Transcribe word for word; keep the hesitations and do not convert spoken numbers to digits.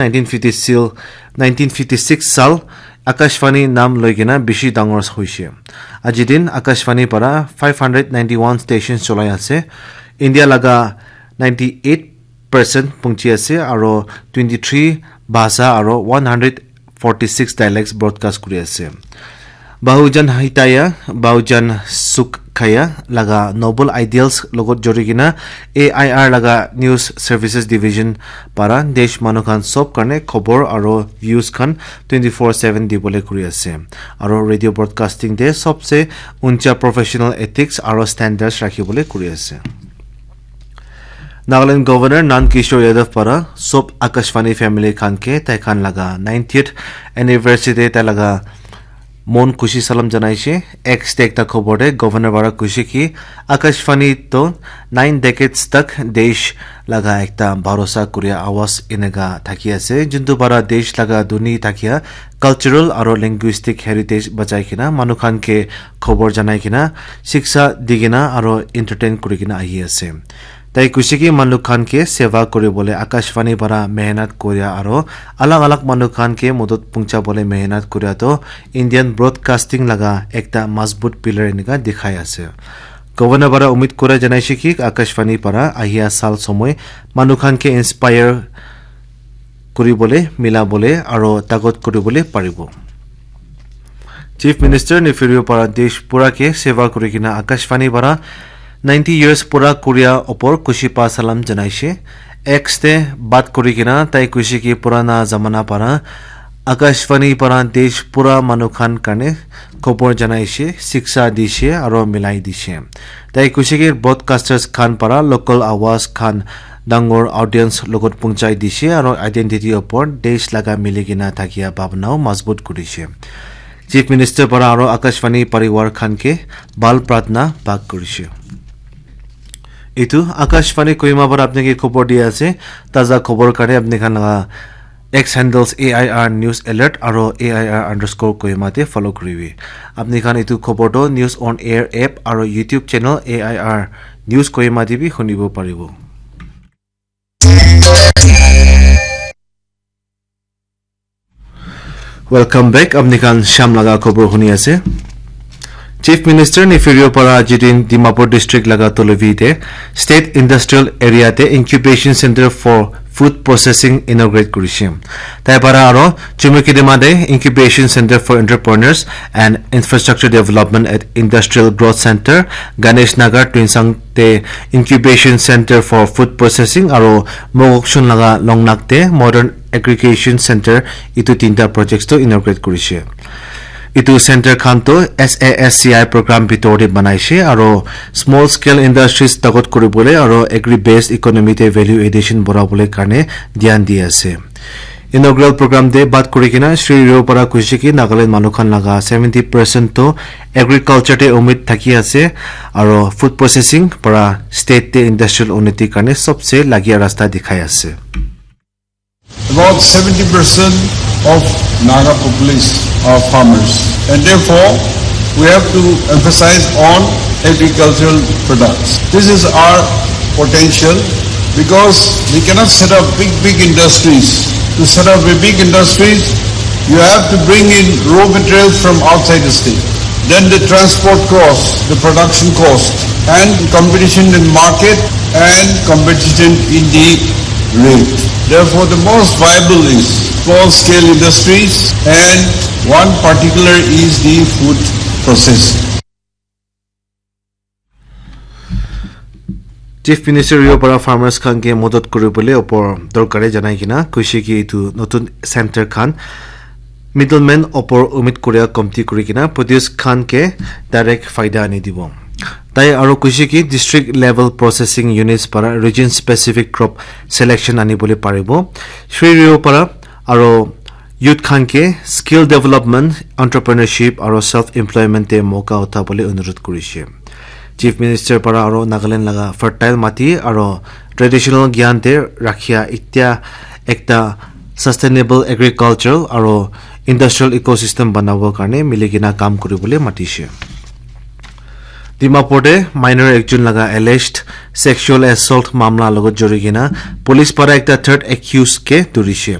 nineteen fifty sil, nineteen fifty six sal Akashvani nam loi kena bishi dangor hoishe. Aji din Akashvani para five hundred ninety one stations cholai ase. India laga ninety eight percent pungchi ase aro twenty three bhasha aro one hundred forty six dialects broadcast kuri ase. Bahujan Hitaya, Bahujan Sukhaya laga noble ideals logot jori kena A I R laga news services division para desh manu khan sob karne khobor aro views khan twenty four seven dibole kuri ase. Aro radio broadcasting te sobse uncha professional ethics aro standards rakhibole kuri ase. Nagaland Governor Nand Kishore Yadav para sob Akashvani family khan ke tai khan laga ninetieth anniversary te tai laga mon khushi salam janaishe. X te ekta khobor te Governor para kuishe ki Akashvani to nine decades tak desh laga ekta bharosa kuria awaz eneka thaki ase, juntu para desh laga dhuni thakia cultural aro linguistic heritage bachai kena manu khan ke khobor janai kena, shiksha di kena aro entertain kuri kena ahi ase. Tai kuishe ki manu khan ke seva kuri bole Akashvani para mehnat kuria aro alag alag manu khan ke modot pungcha bole mehnat kuria to Indian broadcasting laga ekta mazbut pillar enika dikhai ase. Governor para umid kura janaishe ki Akashvani para ahia sal somoi manu khan ke inspire kuribole, milabole aro tagot kuribole paribo. Chief Minister Neiphiu Rio para desh pura ke seva kuri kena Akashvani para ninety years pura kuria opor khushi pa salam janaishe. X te bat kuri kena tai kuishe ki purana zamana para Akashvani para desh pura manu khan karne khobor janaishe, shiksha dishe aro milai dishe. Tai kuishe ki broadcasters khan para local awaz khan dangor audience logot pungchai dishe aro identity opor desh laga mili kena thakia bhabna o mazbut kurishe. Chief Minister para aro Akashvani parivar khan ke bhal pratna bak kurishe. Etu Akashvani Kohima para apni ke khobor di ase. Taza khobor karne apni khan laga X handles A I R News Alert aro A I R underscore Kohima te follow kuribi. Apni khan etu khobor to News on Air app aro YouTube channel A I R News Kohima te bi hunibo paribo. Welcome back. Apni khan sham laga khobor huni ase. Chief Minister Neiphiu Rio para aji din Dimapur District laga Tolovi te State Industrial Area te Incubation Center for Food Processing inaugurate kurishe. Tai para aro Chumukedima te Incubation Center for Entrepreneurs and Infrastructure Development at Industrial Growth Center, Ganesh Nagar, Tuensang te Incubation Center for Food Processing aro Mokokchung laga Longnak te Modern Aggregation Center, etu tinta projects to inaugurate kurishe. Etu center khan to S A S C I program bitor te banaishe aro small scale industries tagot kuribole aro agri based economy te value addition borabole karne dhyan di ase. Inaugural program te bat kuri kena Shri Rio para kuishe ki Nagaland manu khan laga seventy percent to agriculture te umid thaki ase aro food processing para state te industrial unnati karne sobse lagia rasta dikhai ase. About seventy percent of Naga population are farmers, and therefore we have to emphasize on agricultural products. This is our potential because we cannot set up big, big industries. To set up a big industries, you have to bring in raw materials from outside the state. Then the transport cost, the production cost, and competition in market and competition in the rate. Therefore, the most viable is small scale industries, and one particular is the food processing. Chief Minister Rio para farmers khan ke modot kuribole opor dorkare janai kena kuishe ki etu notun center khan middleman opor umid kuria komti kuri kena produce khan ke direct faida ani dibo. Tai aro kuishe ki district level processing units para region specific crop selection ani bole paribo. Shri Rio para aro youth khan ke skill development, entrepreneurship aro self employment te moka utha bole onurod kurishe. Chief Minister para aro Nagaland laga fertile mati aro traditional gyan te rakhia itya ekta sustainable agricultural aro industrial ecosystem banabo karne mili kena kam kuribole matishe. Dimapur te minor ekjon laga alleged sexual assault mamla logot jori kena police para ekta third accused ke dhurishe.